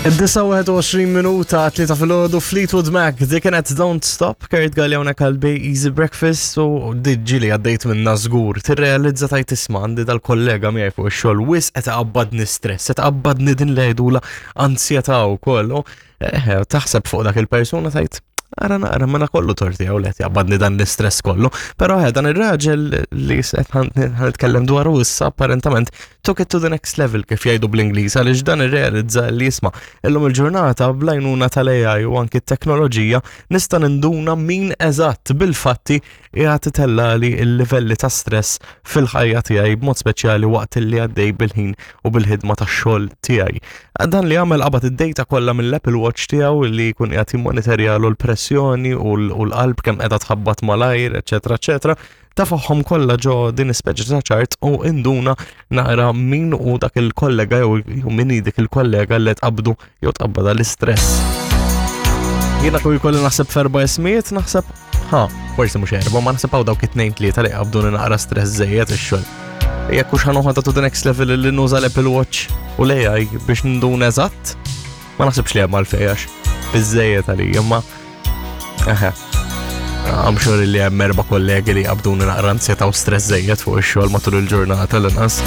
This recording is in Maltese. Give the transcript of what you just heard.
Id-29 minuta 3 filgħodu, Fleetwood Mac, dik kienet Don't Stop, Kurt Galli hawnhekk għal Bay Easy Breakfast u diġġi li għaddejt minna żgur. Tirrealizza tajt isma' għandi dal-kollega miegħi fuq ix-xogħol wis qed iqabbadni stress, qed iqabbadni din li jgħidula ansjetà wkoll. U eh, taħseb fuq dak il-persuna tajt ara naqra mela kollu torti għaw let jaqbadni dan l-istress kollu. Pero eh, dan ir-raġel li qed ħanitkellem dwaru issa apparentament took it to the next level kif jgħidu bl-Ingliż għaliex dan irrealizza li jisma' illum il-ġurnata bl-għajnuna tal-AI u anki t-teknoloġija nista' ninduna min eżatt bil-fatti qiegħed itellali l-livelli ta' stress fil-ħajja tiegħi b'mod speċjali waqt li għaddej bil-ħin u bil-ħidma tax-xogħol tiegħi. Dan li għamel qabad id-data kollha mill-Apple Watch tiegħu li jkun qiegħed jimmonitorjalu l-pressjoni u l-qalb kemm qiegħda tħabbat malajr, eċetera, eċetera, tafahom kollha ġo din ispeċi ta' ċart u induna naqra min u dak il-kollega jew min dik il-kollega li tqabdu jew tqabbada l-istress. Jiena kull jkolli naħseb f'erba' ismijiet, naħseb ha, forsi mhux erba', ma naħseb hawn dawk it-tnejn tlieta li qabduni naqra stress żejjed ix-xogħol. Jekk hux ħanoħodha to the next level li nuża l-Apple Watch u l-AI biex ndun eżatt, ma naħsibx li hemm għalfejn għax biżejjed għalija, imma eħe. I'm sure li hemm erba' kollegi li qabduni naqra ansjetà u stress żejjed fuq ix-xogħol matul il-ġurnata l-inqas.